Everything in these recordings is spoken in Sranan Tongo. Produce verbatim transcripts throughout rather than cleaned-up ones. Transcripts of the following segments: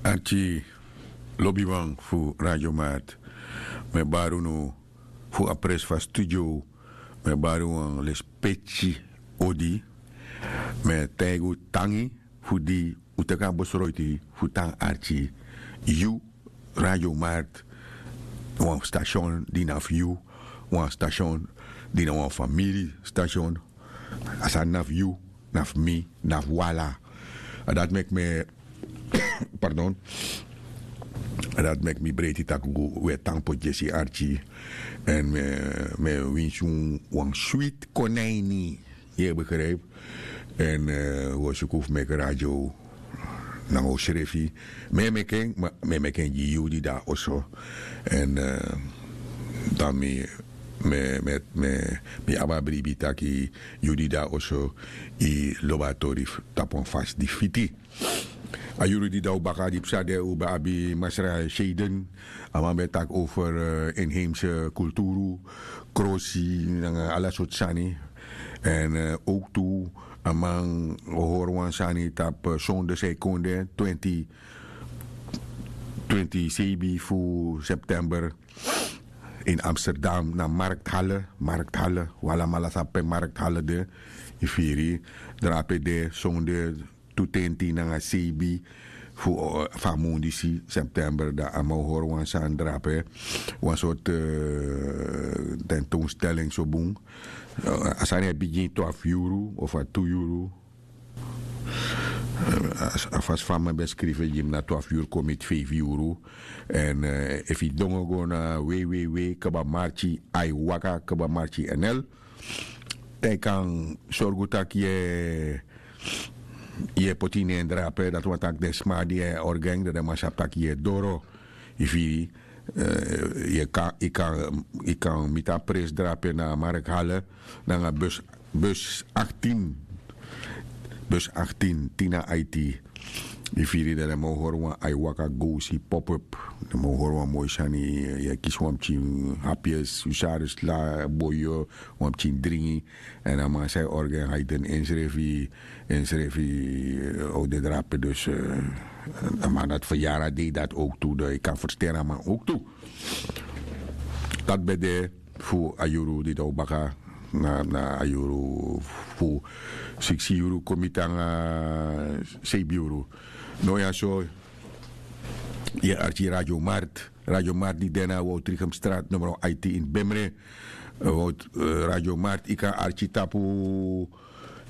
Arki lobiwan fu Radio Mart, mi e bari unu fu a pres fu a studio. Mi e bari wan lespeki odi. Mi e taigi un tangi fu di un teki a besroiti fu tan arki yu Radio Mart, wan station di na fu yu, wan station di na wan famiri station. A sani na fu yu, na fu mi, na fu wi ala. A dati meki mi e pardon. A dati meki mi breiti tak' un e tan poti yesi arki. Èn mi e winsi un wan switi konaini. Yu e begripi? Èn un o suku fu meki radio nanga un srefi. Mi e meki en ma mi e meki en gi yu di de na oso. Èn dan mi mi mi mi abi a bribi taki yu di de na oso, yu lobi a tori tapu wan fasi di fiti. A yuru di de na un baka di psa de un ben abi masra seden. A man ben taki over inheimse kulturu, krosi nanga ala sortu sani. Èn owktu a man o hori wan sani tapu sonde san e kon de twenti twenti sebi fu september ini amsterdam na markthale. Markthale, un alamala sabi pe markthale de. Yu firi? Drape de sonde tu tenti nanga sebi fu a mun disi september dan a man o hori wan sani drape, wan sortu tentoonstelling so bun. A sani e bigin twafu yuru of a tu yuru. A fasi fa mi ben skrifi en gi mi na twafu yuru kon miti feifi yuru. Èn efu yu dongo go na wei wei wei kba marki ai waka kba marki nl, dan yu kan sorgu tak' yu e poti yu nen drape dati wani tak' den sma di e orga en dan den man sabi tak' yu e doro. Yu firi? Yu kan miti a pres drape na markhale nanga bus aktin. Bus aktin tina aiti. Yu firi dan den man o hori wan ai waka gowsi pop-up. Den man o hori wan moi sani. Yu e kisi wan pikin hapi esi usari sla boyo, wan pikin dringi. Èn a man san e orga en haiden ensrefi ensrefi o de drape dus a man dati feryari a dei dati owktu dan yu kan fersteri a man owktu. Dati ben de fu a yuru di dan un baka na a yuru fu siksi yuru kon miti nanga seibi yuru. No ya so. Yu e arki radio mart. Radio mart di de na woutrichem strat numero aiti ini bemre. Radio mart yu kan arki tapu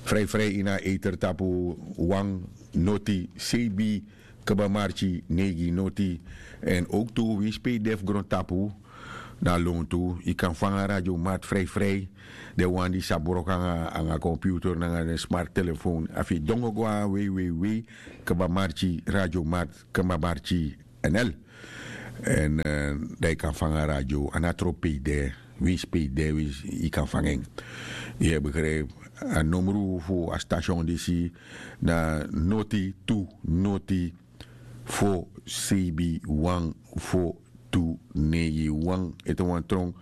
frijfrij ini a eter tapu wan noti sebi kba marki neigi noti. Èn owktu winsi pe yu de fu grontapu na lontu yu kan fanga radio mart frijfrij. Den wan di sabi wroko nanga computer nanga den smart telefoon efu yu dongo go na wei wei wei kba marki radio mart kba marki nl. Èn dan yu kan fanga radio a no a tropu pe yu de. Winsi pe yu de winsi yu kan fanga en. Yu e begripi? A nomru fu a station disi na noti tu noti fo sebi wan fo tu neigi wan ete wan tron.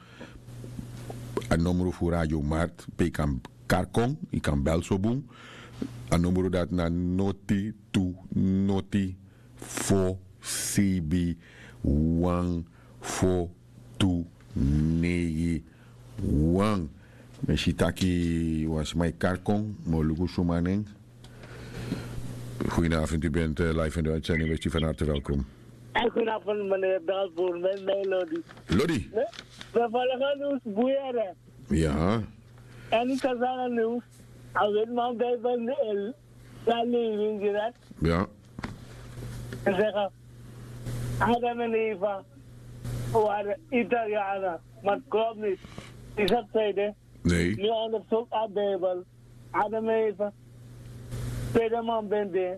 A nomru fu radio mart pe yu kan kari kon yu kan bel so bun. A nomru dati na noti tu noti fo sebi wan fo tu neigi wan. Mi si taki wan sma e kari kon mi o luku suma nen. Goedenavond u bent live in de uitzending west u van harte welkom. Goedenavond meneer Dalvoer met mij Lodi. Lodi. We volgen nieuws boeieren. Ja. En ik kan zeggen nieuws. A witman bij van de el dan leving direct. Ja. En zeggen Adam en Eva waren Italianen, maar het klopt niet. Is dat tweede? Nee. Nu onderzoek aan Bijbel. Adam en Eva. Tweede man ben de.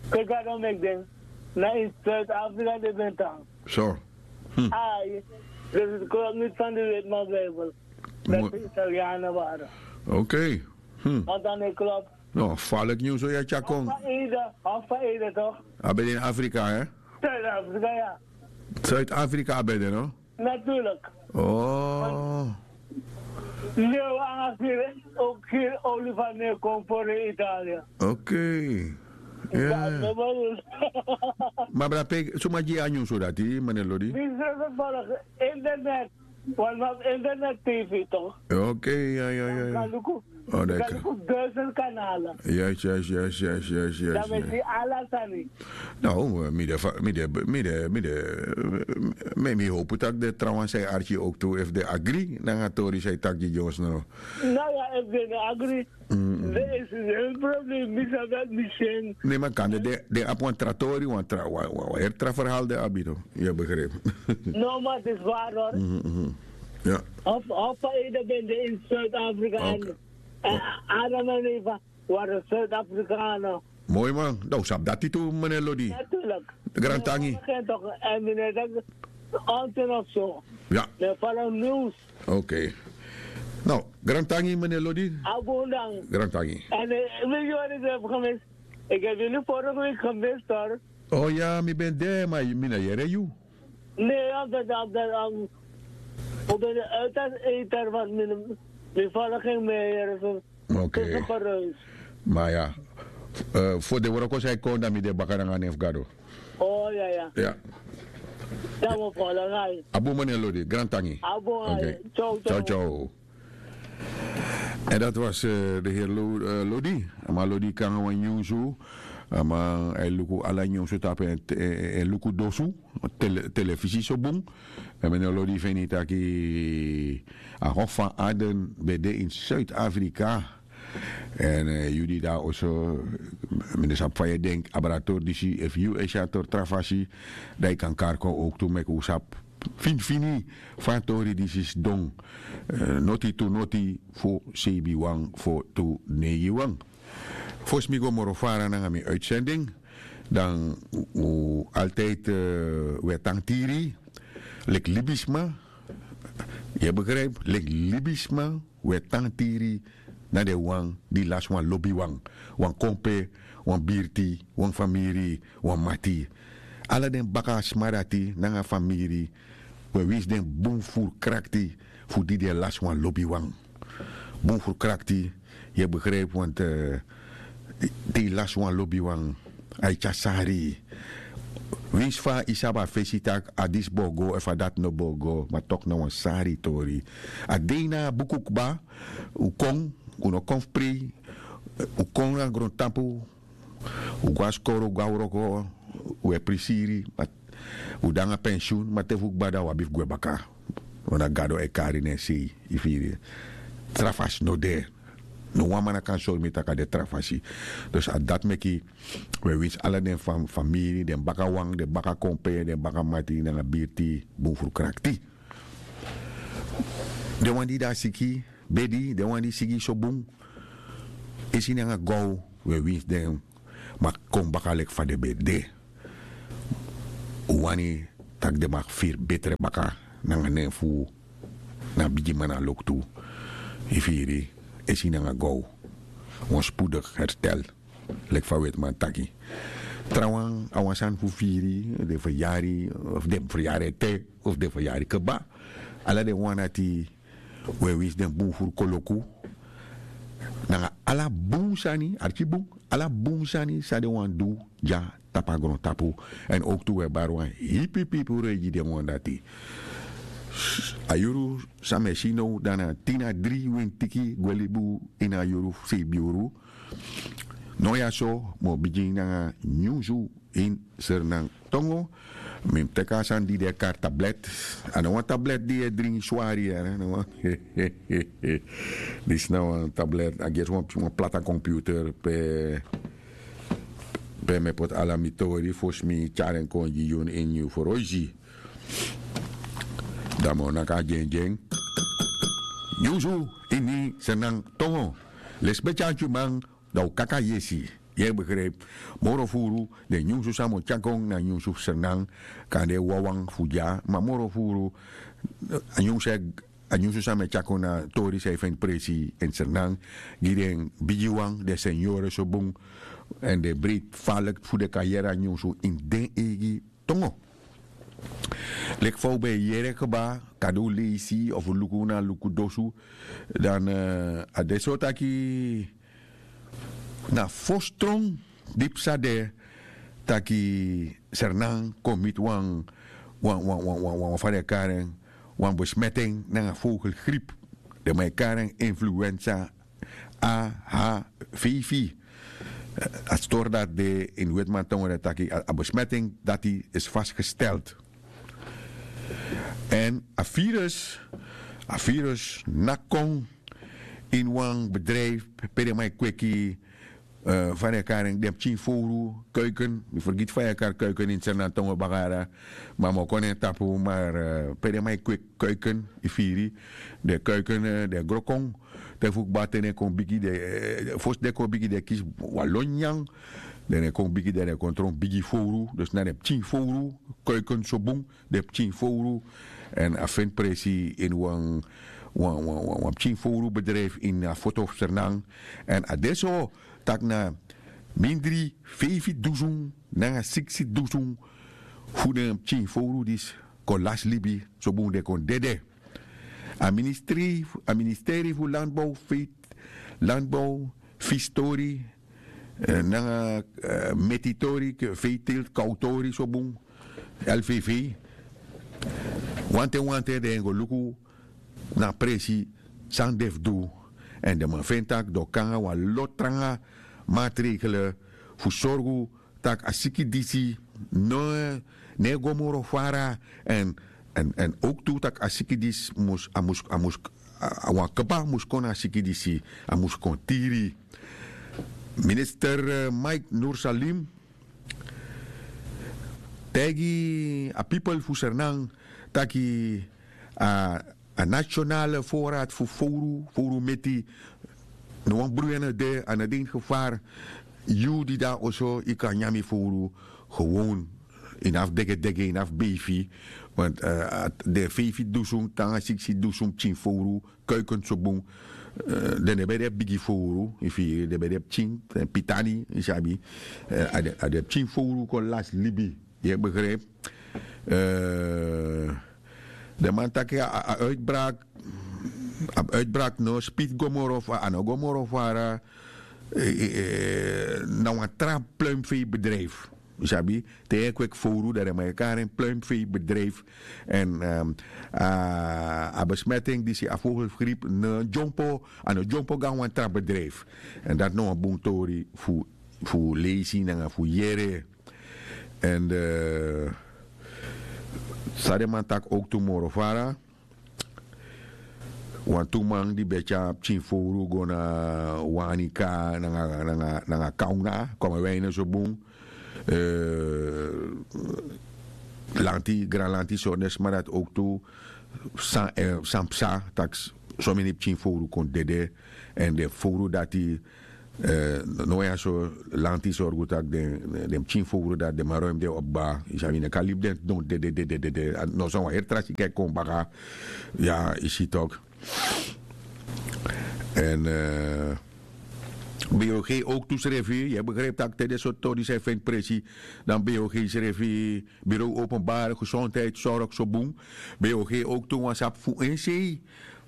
Kijk, daarom ik denk. Na in Zuid-Afrika de bent aan. Zo. Ai. Dus het klopt niet van de witman Bijbel. Dat ze Italianen waren. Oké. Want dan ik klop. No, falik nyun so ya tyakon. Of fa ede, of fa ede toch? A ben de in Afrika hè? Zuid-Afrika, ja. Zuid-Afrika a ben de no? Natuurlijk. Oh. Leeuw anga kiri ook kiri olifant ne kon voor in Italië. Oké. Ma brape suma gi a nyunsu dati mene lodi. Internet. Wan man internet tv tok. Oke. Kaluku. Duizend kanalen. Yes yes yes yes yes yes. Dame si ala sani. No, mi de mi de mi de mi de mi hopu tak de trawan sai arki oktu efu de agri nanga tori sai taki gi ons no. No ya efu de agri. There is no problem mi sabi dat mi sing. Ne man kan de de abi wan tra tori wan tra wan wan wan heri tra verhaal de abi no. Ya begrijp. No maar het is waar hoor. Of of ede ben de in Zuid-Afrika en Adam en Eva waren Zuid-Afrikanen. Moi man dan un sabi dati tu meneer Lodi. Natuurlijk. Grantangi. En meneer dat onten of zo. Ja. Met vallen nieuws. Oke. Nou, grantangi meneer Lodi. Abundang. Grantangi. En wil je wat ik heb gemist? Ik heb jullie vorige week gemist hoor. Oh ja, mi ben de maar mi na yere you. Nee, omdat omdat um, ik ben de uiterst eter want mi vallen geen meer. Oke. Ma ya, fu den wroko san e kon dan mi de baka nanga nen fu gado. Oh ya ya. Ya. Dan we follow ngai. Abu mani lodi grantangi. Abu. Oke. Ciao ciao. En dat was de heer lodi. A man lodi kon nanga wan nyunsu. A man a e luku ala nyunsu tapu en luku dosu. Telefisi so bun. En mene lodi feni taki a hof fan aden ben de in Zuid-Afrika. En yu di dan oso, mi no sabi fa yu e denki abra a tori disi efu yu e si a tori tra fasi, dan yu kan kari kon owktu meki un sabi finifini fa a tori disi sidon. Noti tu noti fo seibi wan fo tu neigi wan. Fosi mi go moro fara nanga mi uitsending, dan un altiydi un e tan tiri leki libisma. Yu e begripi leki libisma. Un e tan tiri na den wan di lasi wan lobiwan, wan kompe, wan birti, wan famiri, wan mati. Ala den baka sma dati nanga famiri, un e winsi den bun furu krakti fu di den lasi wan lobiwan. Bun furu krakti. Yu e begripi wantu te yu lasi wan lobiwan, a e tyari sari. Winsi fa yu sabi a fesi tak' a disi bo go efu a dati no bo go ma toki na wan sari tori. A dei na a buku kba. Un kon, un no kon fu prei. Un kon na grontapu. Un go na skoro un go na wroko. Un e prisiri. Un de nanga pensiun ma te fu kba dan un abi fu gwe baka. Wan na gado e kari na en sei. Yu firi? Tra fasi no de. No wan man na kan sori mi tak' a de tra fasi. Dus a dati meki un e winsi ala den famiri, den baka wan, den baka kompe, den baka mati nanga birti bun furu krakti. Den wan di de na siki bedi, den wan di sigi so bun, esi nanga gow, un e winsi den. Ma kon baka leki fa den ben de. Un wani tak' den maki firi betre baka nanga nen fu un. Na a bigiman na loktu. Yu firi? Esi nanga gow. Wan spudigi herstel. Leki fa wetiman taki. Trawan a wan sani fu firi, den feryari, fu den feryari ete, fu den feryari kba. Ala den wan dati, un e winsi den bun furu koloku. Nanga ala bun sani arki bun, ala bun sani san den wani du dya tapu a grontapu. Èn owktu un e bari wan hipi pipi rei gi den wan dati. A yuru san mi e si now dan na tin na dri wintiki gwe libi un ini a yuru fu seibi yuru. Now ya so mi o bigin nanga nyunsu ini sernantongo. Mi mus teki a sani di den e kari tablet. A no wan tablet di yu e dringi swari ya. Disi na wan tablet a gersi wan plata komputer pe pe mi e poti ala mi tori fosi mi tyari en kon gi yu ini nyun foroisi. Dan mi o naki a dyendyen. Nyunsu ini sernantongo. Lesi betyantyuman. Dan un kaka yesi. Yu e begripi? Moro furu den nyunsu san mi o tyari kon na nyunsu fu sernan. Kan de wawan fu dya ma moro furu a nyunsu e a nyunsu san mi e tyari kon na tori san e feni presi ini sernan, gi den bigiwan den senyore so bun. Èn den breiti faliki fu den kan yere a nyunsu ini den eigi tongo. Leki fa un ben e yere kba, kande un leisi of un luku na luku dosu. Dan a de so taki na fosi tron. di psa de taki sernan kon miti wan wan wan wan wan wan wan fa den e kari en, wan besmeti en nanga vogelgriep. Den man e kari en influensa a h v v. A stori dati de ini wetimantongo den taki a besmeti en dati is fasgesteld. Èn a virus a virus naki kon ini wan bedrijfi pe den man e kweki fa den e kari en den pikin fowru kuiken. Mi fergiti fa yu e kari kuiken ini sernantongo baka dya. Ma mi o kon na en tapu mar pe den man e kweki kuiken yu firi den kuiken den e gro kon. Te fu kba te den kon bigi den fosi den kon bigi den e kisi wan lon nyanyan. Den e kon bigi den den kon tron bigi fowru dus na den pikin fowru kuiken so bun. Den pikin fowru èn a feni presi ini wan wan wan pikin fowru bedrijfi ini a foto fu sernan. Èn a de so tak' na mindri feifi dusun nanga siksi dusun fu den pikin fowru disi kon lasi libi. So bun den kon dede. A ministri a ministeri fu landbow feit landbow fistori nanga metitori feitilti kawtori so bun. L v v wanten wanten den e go luku na a presi san den fu du. Èn den man feni tak' den o kon nanga wan lo tranga matregele fu sorgu tak' a siki disi no e go moro fara. Èn èn owktu tak' a siki disi mus a mus a mus wan kba mus kon na a siki disi a mus kon tiri. Minister mike nursalim taigi a pipel fu sernan taki a nationale voorraad fu fowru fowru meti. No wan bruya no de a no de ini gevar. Yu di de na oso yu kan nyan mi fowru gewon. Ini afu degedege ini afu beifi want den feifi dusun nanga siksi dusun pikin fowru kuiken so bun. Den no ben de bigi fowru yu firi den ben de pikin den pitani yu sabi. A den pikin fowru kon lasi libi. Yu e begripi? Den man taki a uitbrak a uitbrak no spiti go moro fara a no go moro fara. Na wan tra pluimveibedrijfi yu sabi te yu e kweki fowru dan den man e kari en pluimveibedrijfi. Èn a besmeting disi a vogelgriep no dyompo a no dyompo go na wan tra bedrijfi. Èn dati na wan bun tori fu fu leisi nanga fu yere. Èn san den man taki owktu moro fara wantu man di ben tyari pikin fowru go na wanika nanga kauna kon mi wini en so bun. Lanti granlanti sori den sma dati owktu san psa tak' someni pikin fowru kon dede. Èn den fowru dati no ya so lanti sorgu tak' den pikin fowru dati den man ruim den opo kba yu sabi yu no kan libi den don dede dede dede. No san wan heri tra siki e kon baka. Ya yu si tok'. Èn bog owktu srefi yu e begripi tak' te den sortu tori san e feni presi dan bog srefi bureau openbare gesondheid sorg so bun. Bog owktu wan sabi fu en sei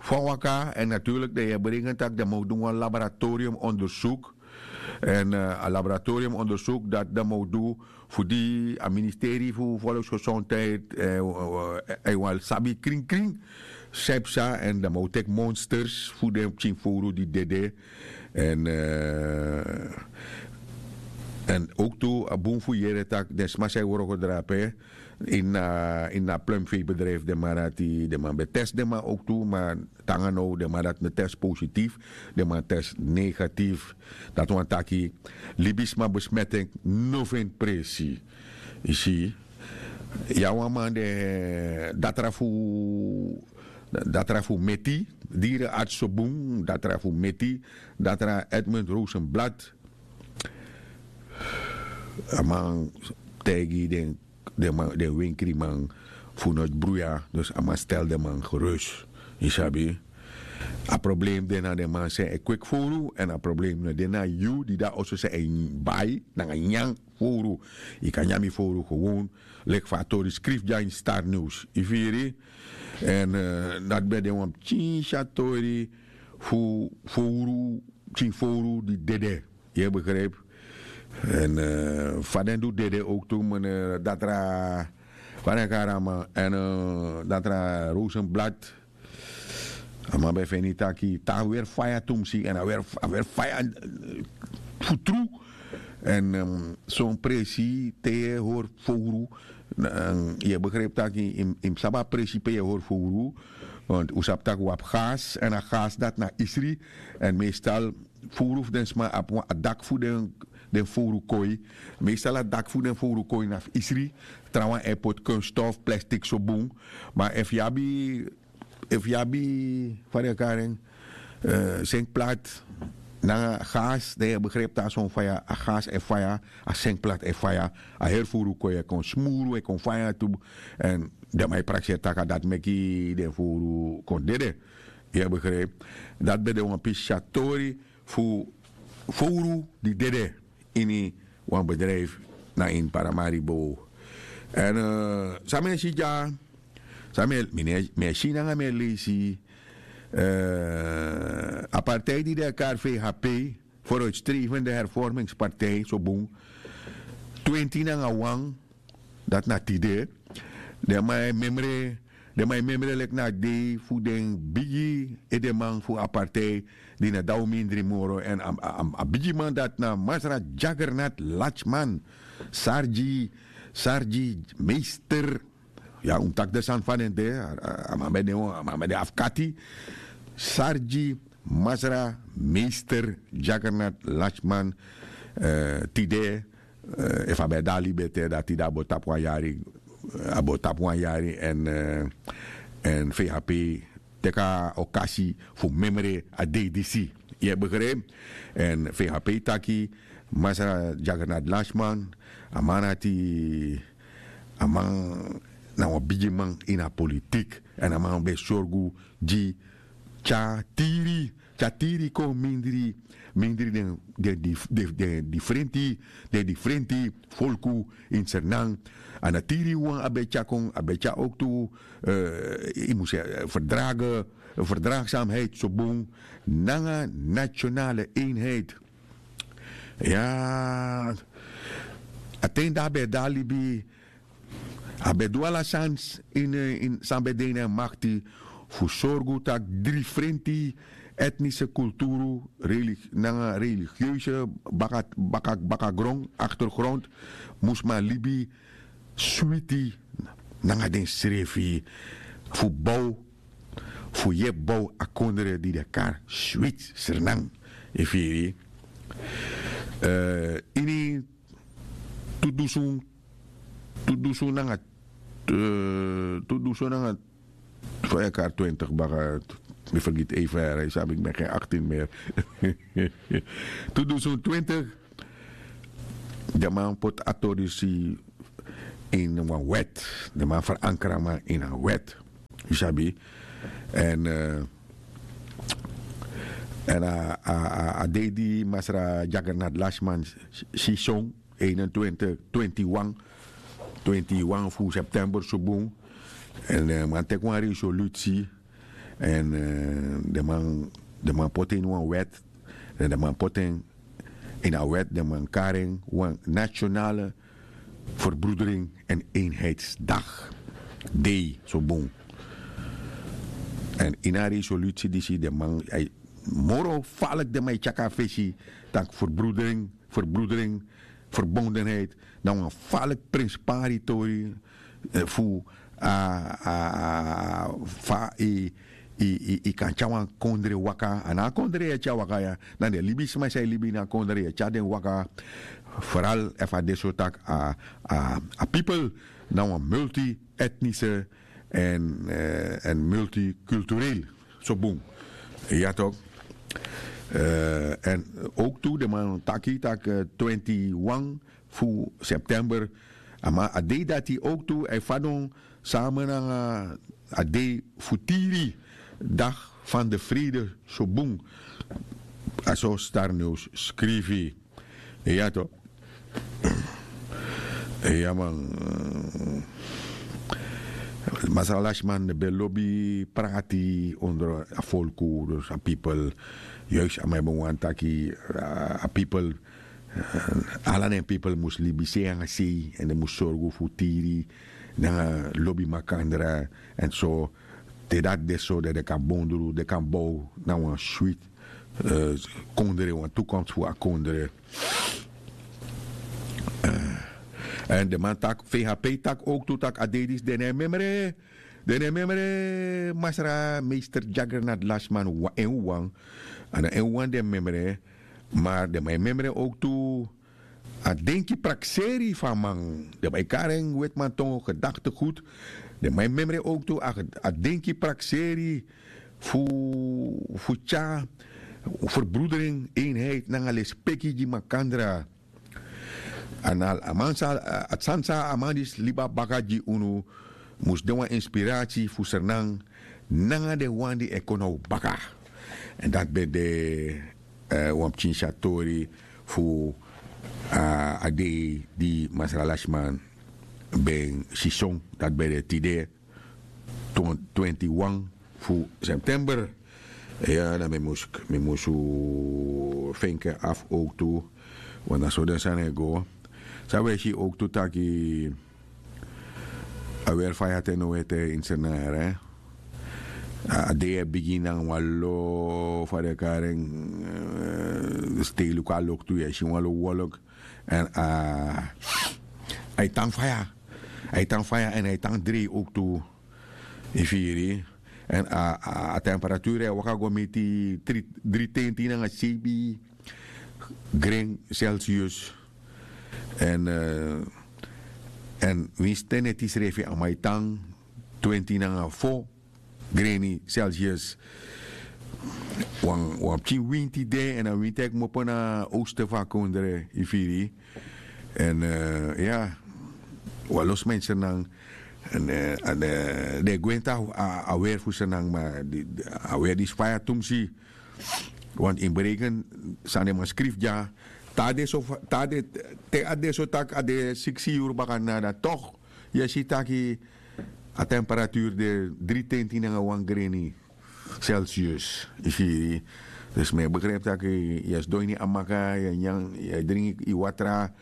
fu a waka èn naturlik dan yu e bringi en tak' dan man o du wan laboratorium ondersuk. Èn a laboratorium ondersuk dati dan man o du fu di a ministeri fu volksgesondheid èn wan sabi kringkring san e psa èn dan man o teki monsters fu den pikin fowru di dede. Èn èn owktu a bun fu yere tak' den sma san e wroko drape ini a plumveibedrijfi den man dati den man ben testi den man owktu ma tanga now den man dati no testi positifi. Den man testi negatif. Dati wani taki libisma besmeting no feni presi. Yu si yu abi wan man den datra fu datra fu meti diri arts so bun datra fu meti datra edmund rosenblad. A man taigi den den wenkriman fu no bruya dus a man stel den man gerus. Yu sabi a problem de na den man san e kweki fowru èn a problem no de na yu di de na oso san e bai nanga nyan fowru. Yu kan nyan mi fowru gewon leki fa a tori skrifi dya ini star news yu firi. Èn dati ben de wan pikin sya tori fu fowru pikin fowru di dede. Yu e begripi? Èn fa den du dede owktu mene datra, fa den kari a man èn datra rosenblad. A man ben feni taki te a weri faya tumsi èn a weri faya fu tru. Èn son presi te yu e hori fowru, yu e begripi tak' yu mus sabi a presi pe yu e hori fowru. Want un sabi tak' un abi gas èn a gas dati na isri. Èn meestal fowru fu den sma abi wan a dak fu den den fowru koi. Meestal a dak fu den fowru koi na fu isri. Trawan e poti kunstof plastik so bun. Ma efu yu abi efu yu abi fa den e kari en senkplat nanga gas dan yu e begripi tak' son faya a gas e faya. A senkplat e faya. A heri fowru koi e kon smuru e kon faya tu. Èn den man e prakseri tak' a dati meki den fowru kon dede. Yu e begripi? Dati ben de wan pisi a tori fu fowru di dede ini wan bedrijfi na ini paramaribo. Èn san mi e si dya san mi e si nanga mi e leisi a partij di den e kari vhp, voruitstrevende hervormingspartij so bun, twenti nanga wan. Dati na tide den man e memre den man e memre leki na a dei fu den bigi edeman fu a partij di na daw mindri moro èn a bigiman dati na masra jagernat lachman, sargi sargi meister. Ya un mus taki den sani fa den de. A man ben de wan a man ben de afkati. Sargi masra meister jagernat lachman tide efu a ben de a libi ete dati de a bo tapu wan yari. A bo tapu wan yari èn vhp teki a okasi fu memre a dei disi. Yu e begripi? Èn vhp taki masra jagernat lachman a man dati a man na wan bigiman ini a politik èn a man ben sorgu gi tyari tyari kon mindri mindri den difrenti den difrenti folku ini sernan. A na tiri wan a ben tyari kon a ben tyari owktu yu mus ferdrage ferdragsamheid so bun nanga nationale eenheid. Ya a ten di a ben de a libi a ben du ala sani ini san ben de ini en makti fu sorgu tak' difrenti etnise kulturu nanga religieuze bakagron aktergrond mus man libi switi nanga densrefi fu bow fu yepi bow a kondre di den kari switsernan. Yu firi? Ini tu dusun tu dusun nanga tu dusun nanga fa e kari twintig baka. Mi fergiti ei fere yu sabi mi ben gen aktin meri. Tu dusun twintig den man poti a tori disi ini wan wet. Den man ferankra man ini a wet. Yu sabi? Èn èn a dei di masra jagernat lashman si son einentwintig twintiwan twintiwan fu september subun. Èn den man teki wan resolusi èn den man den man poti en ini wan wèt. Den man poti en ini a wèt den man kari en wan nationale verbroedering en eenheidsdag dei so bun. Èn ini a resolusi disi den man moro falik den man e tyaki a fesi tak' verbroedering verbroedering verbondenheid na wan falik prenspari tori fu a fa yu kan tyari wan kondre waka a na a kondre yu e tyari waka ya. Na den libisma san e libi ini a kondre yu e tyari den waka. Foral efu a de so tak' a pipel na wan multietnise èn multikulturel so bun. Ya tok'. Èn owktu den man taki tak' twintiwan fu september a dei dati owktu a e fadon sama nanga a dei fu tiri dag fan de frede so bun. A so starnews skrifi. Ya to. Ya man. Masra lashman ben lobi prati ondro a folku dus a pipel. Yuis a man e ben wani taki a pipel Ala den pipel mus libi sei nanga sei èn den mus sorgu fu tiri nanga lobi makandra. Èn so te dati de so dan den kan bondru den kan bow na wan switi kondre wan tukomst fu a kondre. Èn den man taki fei hapei taki owktu tak' a dei disi den no e memre den no e memre masra meister dyagrnat lasman. En wan a no en wan den memre. Mar den man e memre owktu a denki prakseri fu a man. Den man e kari en wetimantongo gedakte gudu. Den man e memre owktu a denki prakseri fu fu tyari ferbroedering einheid nanga lespeki gi makandra. A na a man sa a sani san a man disi libi na baka gi unu mus de wan inspirasi fu sernan nanga den wan di e kon na un baka. Èn dati ben de wan pikin si a tori fu a dei di masra lasiman ben sison dati ben de tide twenti wan fu september. Ya dan mi mus mi mus fenke afu owktu. Wan na so den sani e go san wi e si owktu taki a weri faya te no ete ini senare. A dei e bigin nanga wan lo fa den kari en stei luku a loktu yu e si wan lo wolk. Èn a e tan faya a e tan faya èn a e tan drei owktu. Yu firi? Èn a temperature e waka go miti dri tenti nanga seibi gren celsius. Èn èn winsi te neti srefi a man e tan twenti nanga fo greni celsius. Wan wan pikin winti de èn a winti e kmopo na oste fu a kondre yu firi? Èn ya wan lo sma ini sernan. Èn den e gwenti a weri fu sernan ma a weri disi faya tumsi. Want ini breken san den man skrifi dya te a de so te a de so tak' a de siksi yuru baka nada tok' yu e si taki a temperaturu de dri tenti nanga wan greni celsius. Yu firi? Dus mi e begripi tak' yu e sidon ini a maka yu e nyan yu e dringi yu watra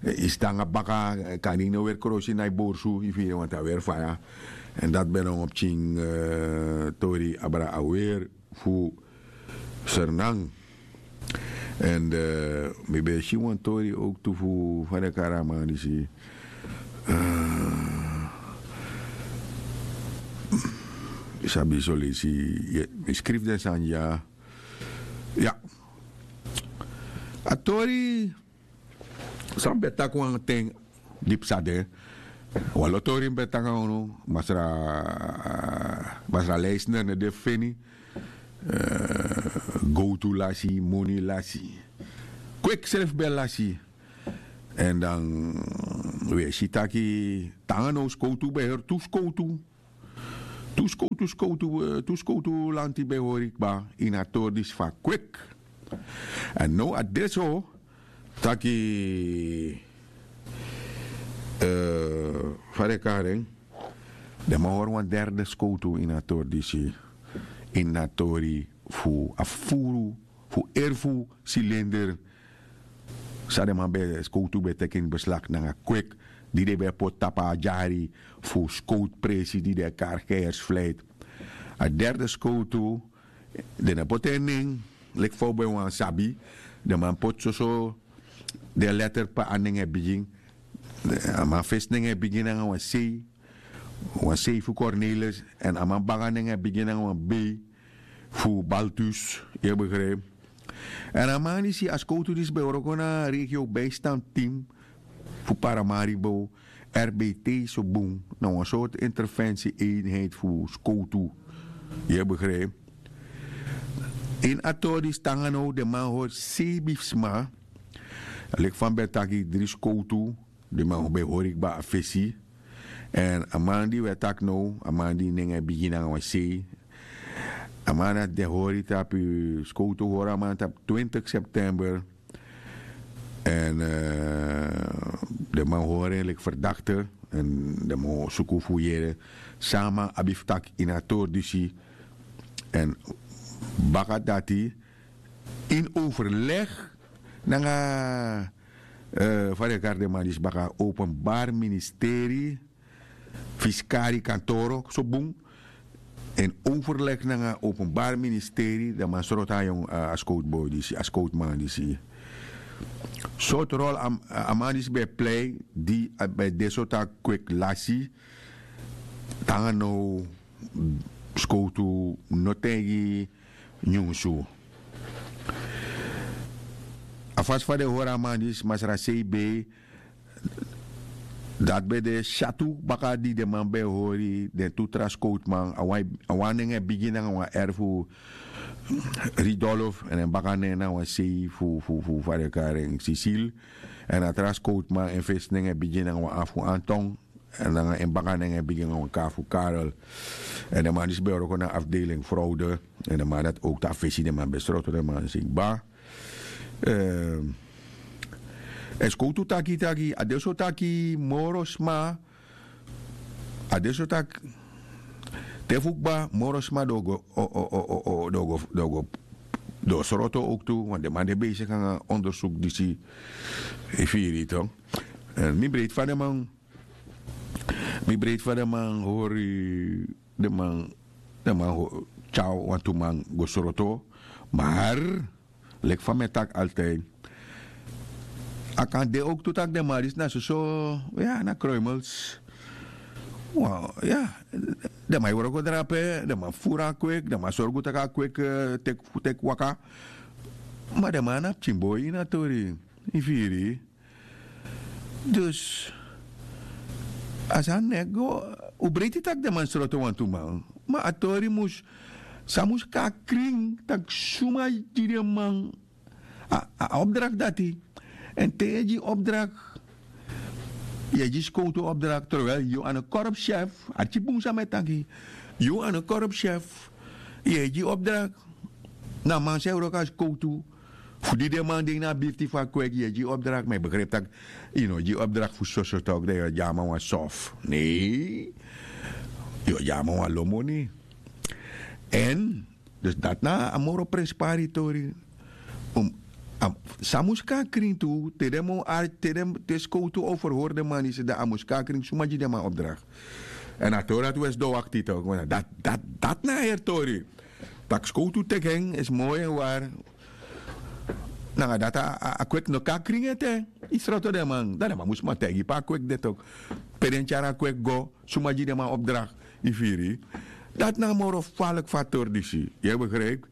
yu sidon nanga baka. Kan yu no weri krosi na yu borsu yu firi wantu a weri faya. Èn dati ben na wan pikin tori abra a weri fu sernan. Èn mi ben e si wan tori owktu fu fa den kari a man disi sabi solesi. Mi skrifi den sani dya. Ya a tori san mi ben taki wan ten di psa de. Wan lo tori mi ben taki nanga unu masra masra leisner no de feni. Gowtu lasi moni lasi kweki srefi ben lasi. Èn dan wi e si taki te nanga now skowtu ben heri tu skowtu tu skowtu skowtu tu skowtu lanti ben hori kba ini a tori disi fu a kweki. Èn now a de so taki fa den kari en den man hori wan derde skowtu ini a tori disi ini a tori fu a furu fu erfu silinder. San den man ben skowtu ben teki ini beslak nanga kweki di den ben e poti tapu a dyari fu skowtu presi di den e kari heersfleit. A derde skowtu den no poti en nen leki fa un ben wani sabi. Den man poti soso den letter pe a nen e bigin. A man fesi nen e bigin nanga wan sei wan sei fu cornelis èn a man baka nen e bigin nanga wan bei fu baltus. Yu e begripi? Èn a man disi a skowtu disi ben wroko na regio bijstand team fu paramaribo r b t so bun na wan sortu intervensi einheit fu skowtu. Yu e begripi? Ini a tori disi te nanga now den man hori sei bifsma leki fa mi ben taki dri skowtu. Den man ben hori kba a fesi. Èn a man di wi e taki now a man di nen e bigin nanga wan sei a man dati den hori tapu skowtu hori a man tapu twintig september. Èn den man hori en leki ferdakte èn den man suku fu yere san a man abi fu taki ini a tori disi. Èn baka dati ini overleg nanga Fa den e kari den man disi baka? Openbari ministeri, fiskari kantoro so bun, en overlegi nanga openbari ministeri den man sroto a yong a skowtu boi disi a skowtu man disi. Sortu rol a man disi ben e plei di a ben de sortu a kweki lasi, te nanga now skowtu no taigi nyunsu. A fasi fa den hori a man disi masra sei bei, dati ben de syatu baka di den man ben e hori den tu tra skowtuman. A wan nen e bigin nanga wan eri fu ridolf èn en baka nen na wan sei fu fu fu fa den e kari en sisil. Èn a tra skowtuman en fesi nen e bigin nanga wan afu anton, èn nanga en baka nen e bigin nanga wan kari fu karel. Èn den man disi ben e wroko na afdeling frowde. Èn den man dati owktu a fesi den man ben sroto den man si kba. Èn skowtu taki taki a de so taki moro sma, a de so taki te fu kba moro sma den o go, den o go den o go den o sroto owktu. Wan den man de beisiki nanga ondersuku disi. Yu firi yu to. Èn mi breiti fa den man mi breiti fa den man hori den man den man tyari wantu man go sroto. Mar leki fa mi e taki altidi, a kan de owktu tak' den man disi na soso, ya na kroimels. Wan ya den man e wroko drape den man furu a kweki den man sorgu tak' a kweki teki waka. Ma den man na pikinboi ini a tori. Yu firi? Dus a sani no e go. Un breiti tak' den man sroto wantu man, ma a tori mus san mus kon na krin tak' suma gi den man a opdrakti dati. Èn te yu e gi opdrakti, yu e gi skowtu opdrakti terwel yu a no korpsyef. Arki bun san mi e taki. Yu a no korpsyef. Yu e gi opdrakti na a man san e wroko na skowtu fu di den man de ini a birti fu a kweki yu e gi opdrakti ma yu begripi tak' yu no gi opdrakti fu soso tok' dan yu o gi a man wan sof. Nei, yu o gi a man wan lo moni. Èn dus dati na a moro prenspari tori. San mus kon na krin tu te den man o arki te skowtu o ferhori den man disi dan a mus kon na krin suma gi den man opdrakti. Èn a tori dati un e sidon wakti tok' dati na a heri tori. Tak' skowtu teki en e smoi en wari. Nanga dati a kweki no kon na krin ete. Yu sroto den man dan den man mus man taigi pe a kweki de tok', pe den tyari a kweki go, suma gi den man opdrakti. Yu firi? Dati na a moro faliki fu a tori disi. Yu e begripi?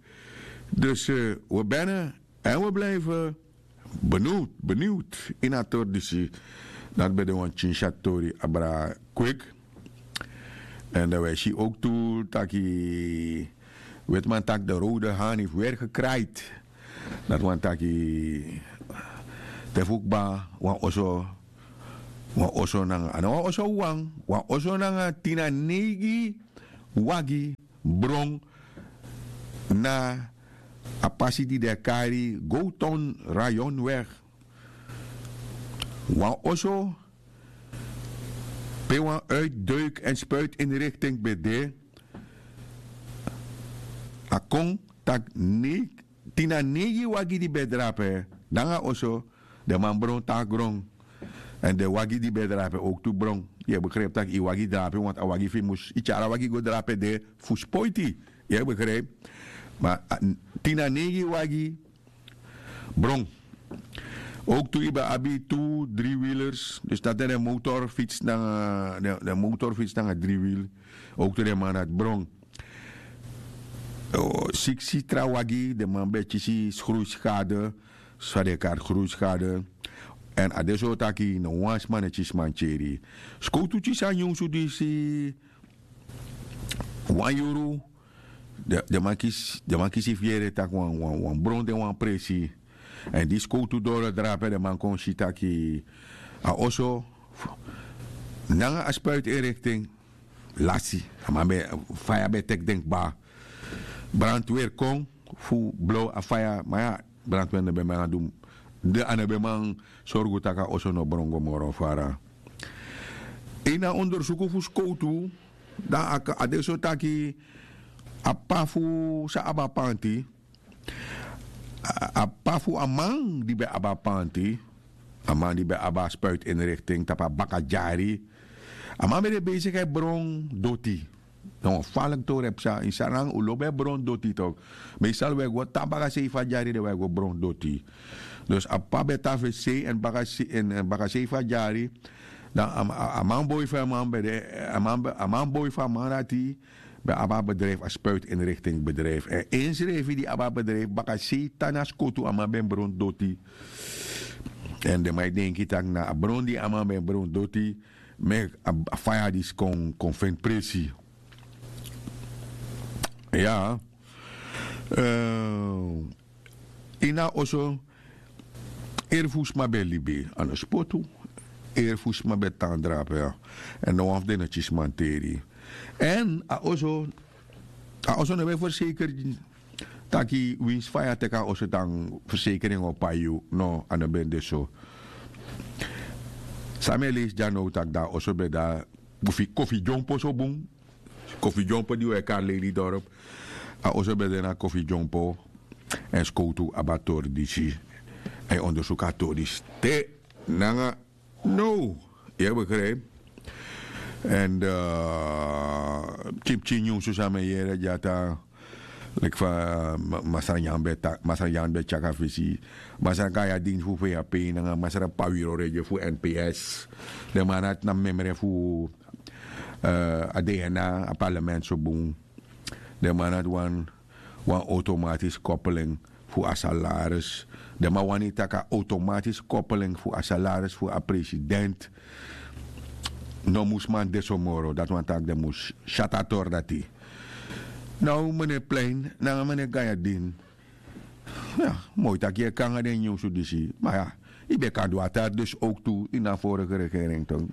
Dus we bene èn we blife beniwd beniwd ini a tori disi. Dati ben de wan pikin syatu tori abra kweki. Èn dan wi e si owktu taki wetiman taki de rowde hani fu weri gekraiti. Dati wani taki te fu kba wan oso wan oso nanga a no wan oso wawan wan oso nanga tin na neigi wagi bron na a pasi di den e kari gowton rayon weg. Wan oso pe wan uitdeuk èn spuitinrikting ben de. A kon tak' tin na neigi wagi di ben e drape nanga oso den man bron tan na gron. Èn den wagi di ben e drape owktu bron. Yu e begripi tak' yu wagi drape wantu a wagi fu yu mus yu tyari a wagi go drape de fu spoiti. Yu e begripi? Ma tin na neigi wagi bron. Owktu yu ben abi tu dri wilers dus dati na den motorfits nanga den motorfits nanga dri wil. Owktu den man dati bron. Siksi tra wagi den man ben e kisi skruiskade. San den e kari skruiskade. Èn a de so taki no wan sma no e kisi mantyeri. Skowtu kisi a nyunsu disi wan yuru. Den man kisi fu yere tak' wan bron de wan presi. Èn di skowtu doro drape den man kon si taki a oso nanga a spuitinrikting lasi. A man ben faya ben teki den kba. Brantweri kon fu blow a faya ma ya brantweri no ben man du. A no ben man sorgu tak' a oso no bron go moro fara. Ini a ondersuku fu skowtu dan a de so taki a p'pa fu san abi a panti a p'pa fu a man di ben abi a panti. a man di ben abi a spuitinrikting tapu a baka dyari. A man ben de besigi e bron doti. Na wan faliki tori e psa ini Sranan, un lobi e bron doti tok. Meestal un e go tan baka sei fu a dyari, dan un e go bron doti. Dus a p'pa ben tan fu sei èn baka sei fu a dyari. Dan a man boi fu a man ben de, a man boi fu a man dati ben abi a bedrijfu, a spuitinrikting bedrijfu èn ensrefi di abi a bedrijfu baka sei tan na skotu a man ben bron doti. Èn den man e denki tak' na a bron di a man ben bron doti meki a faya disi kon feni presi. Ya. Ini a oso eri fu sma ben e libi a no spotu. Eri fu sma ben e tan drape ya. Èn no wan fu den no kisi manteri. Èn a oso a oso no ben ferseker taki winsi faya teki a oso dan fersekeri en o pai yu. No, a no ben de so. San mi e leisi dya now tak' dan a oso ben de na kofi dyompo so bun. Kofi dyompo di un e kari leili dorp. A oso ben de na kofi dyompo. Èn skowtu abi a tori disi. A e ondersuku a tori disi te nanga. No, yu e begrijpi. Èn pikinpikin nyunsu san mi e yere dya tan leki fa masra nyan ben taki masra nyan ben tyaki a fesi. Masra gayadin fu fei a pei nanga masra pawiro redye fu nps. Den man nati na memre fu a dna a parlement so bun. Den man nati wan wan automatis kopeling fu a salaris. Den man wani tak' a automatis kopeling fu a salaris fu a president no mus man de so moro dati wani tak' den mus syati a tori dati. Now mene plein nanga mene gayadin. Ya, moi tak' yu e kon nanga den nyunsu disi ma ya, yu ben kan du a tari dus owk tu ini a vorige regering tu.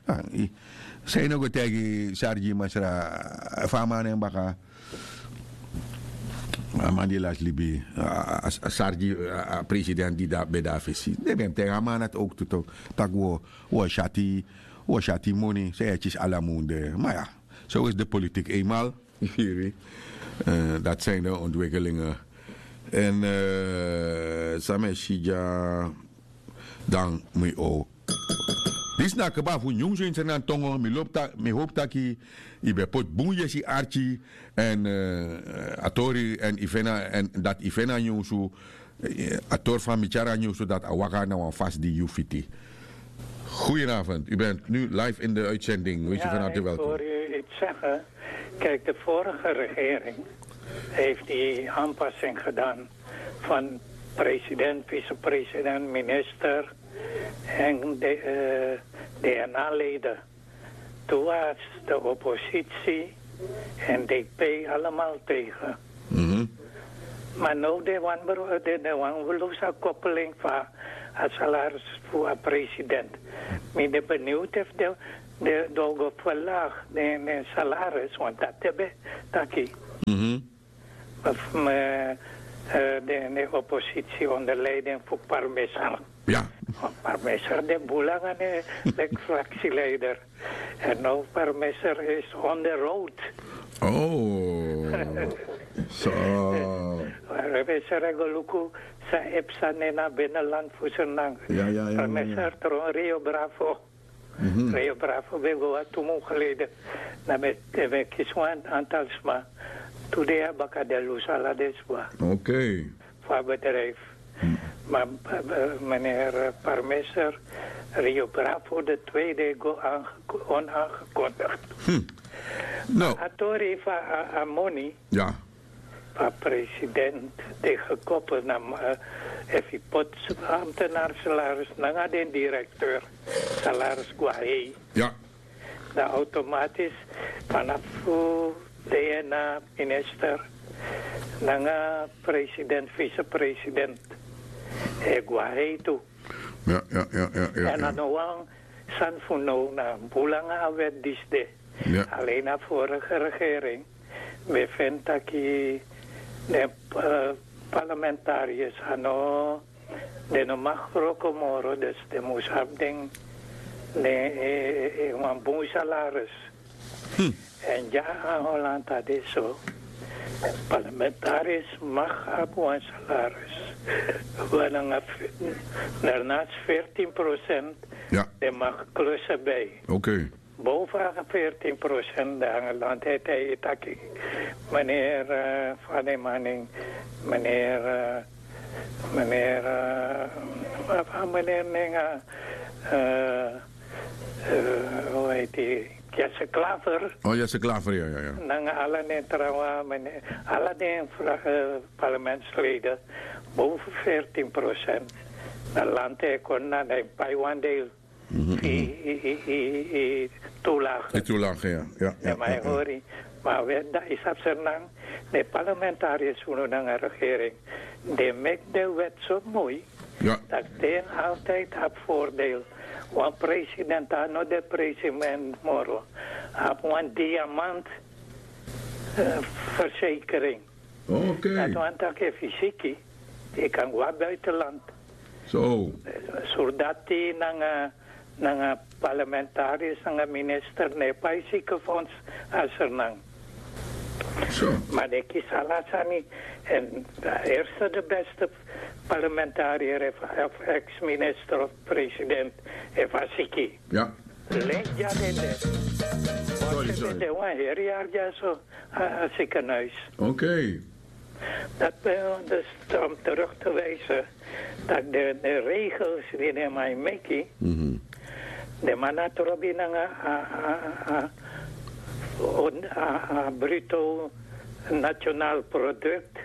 San yu no go taigi sargi masra fa a man na en baka? A man di lasi libi a sargi a president di ben de na fesi den ben mus taigi a man dati owk tu tak' wi o syati moni san yu e kisi ala mun de. Ma ya, so is de politik eenmal. Yu firi mi? Dati sani de ontwikkelingen. Èn san mi e si dya dan mi o disi na kba fu nyunsu ini srnan tongo. Mi lobi taki mi hopi taki yu ben poti bun yesi arki èn a tori èn yu feni dati yu feni a nyunsu. A tori fa mi tyari a nyunsu dati a waka na wan fasi di yu fiti. Goedenavond, u bent nu live in de uitzending. Weet u van harte welkom. Kijk, de vorige regering heeft die aanpassing gedaan van president, vicepresident, minister en DNA-leden. Toen was de oppositie en DP allemaal tegen. Maar nu de wan de wan we losa koppeling van a salaris voor a president. Mi de benieuwd of de de dogo verlaag de salaris want dat hebben taki. Of me de ne oppositie onder leiding voor parmesan. Parmesan de bulanga ne lek fractieleider. En now parmesan is on the road. Oh. So. Parmesan regoluku sa epsa ne na binnenland fusenang. Parmesan tron Rio Bravo. Rio Bravo ben go a tu mun geleden. Na ben kisi wan antal sma. Today a baka de lus ala den sma. Oké. Fu a bedrijf. Maar meneer parmeser Rio Bravo de tweede go onaagekondigd. No. A tori fu a moni. Ja. Fu a president de gekoppel na efu yu poti ambtenaar salaris nanga den direkteur salaris go a hei. Dan automatisch vanaf DNA minister nanga president vicepresident e go a hei tu. En a no wan sani fu now na bun langa a wet disi de. Alleen a vorige regering ben feni taki den parlementarius a no den no maki wroko moro dus den mus abi den wan bun salaris. Èn dya a holland a de so. Parlamentaris mag abi wan salaris. Wan nanga, daarnaast veertien procent, den mag klussen bij. Boven veertien procent, dan land het hij taki. Meneer uh, Fademaning, meneer uh, meneer uh, meneer Nenga, uh, uh, hoe heet hij? Jesse Klaver. Oh, Jesse Klaver, ja, ja, ja. Nanga ala den trawan, ala den parlementsleden boven veertien procent. Dan land hij kon naar de Paiwan deel. Toelage. Toelage, ja. Maar hori, maar wet dat is op zijn naam. De parlementariërs van de regering, die maakt de wet zo mooi, dat den altijd op voordeel. Want president, no de president moro, op een diamant verzekering. Oké. Dat want dat je fysiek, je kan wat buitenland. Zo. Surdati nanga nanga parlamentaris nanga minister ne pai ziekenfonds asernang. Zo. Maar de kisalasani en de eerste de beste parlementariër of ex-minister of president heeft asiki. Ja. Leidja dende. Sorry, sorry. De wan heri arja so a ziekenhuis. Oké. Dat ben dus om terug te wijzen dat de, de regels die de man meki, de man na trobi nanga a, a, a, a bruto nationaal product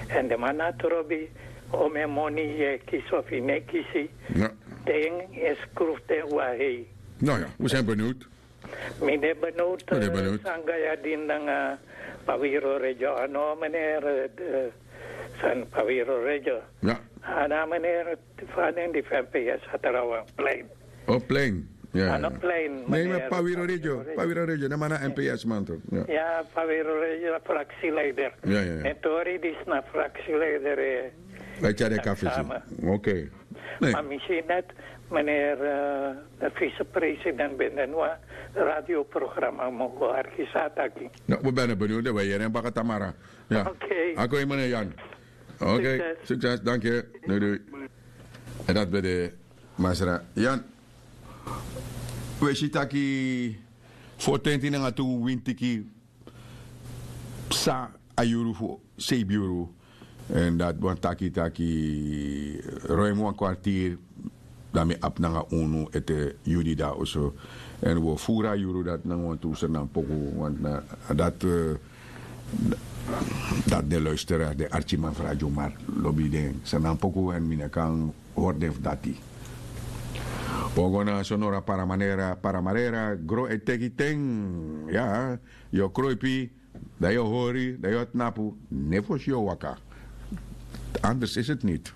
en de man na trobi om en moni je kies of je ne kisi, Ja. Den is kroef den wahei. Nou ja, we zijn benieuwd. Mi de benoot sanga ya din nanga Pawiro Regio ano meneer san Pawiro Regio. Ja. Ana meneer faden di F N P S a trawan plein. O plein. Ja. Ano plein. Nee, maar Pawiro Regio. Pawiro Regio, na mana M P S man toch. Ja. Ja, Pawiro Regio fractieleider. Ja, ja, ja. En tori di sna fractieleider. Wij tjare kafisi. Oké. Nee. Maar misschien net meneer uh, de vicepresident binnen een radioprogramma mogen argisataki. Nou, we zijn benieuwd dat wij hier in Bakatamara. Ja. Oké. Ako meneer Jan. Oké. Succes. Dank je. Doei doei. En dat bij de Masra Jan. We zien taki voor twintig nanga tu wintiki psa a yuru fu seibi yuru. En dat wan taki taki ruim wan kwartier dan mi abi nanga unu ete yudi dan oso. En we furu a yuru dat nanga wan tu sernan poku want na dat dat de luisteraar de archiman fu Radio Mar lobi den sernan poku en mi no kan hori den fu dati. Pogo na sonora paramanera paramanera gro e teki ten. Ya, yu o kroipi, dan yu o hori, dan yu o tnapu. Ne fosi yu o waka. Anders is het niet.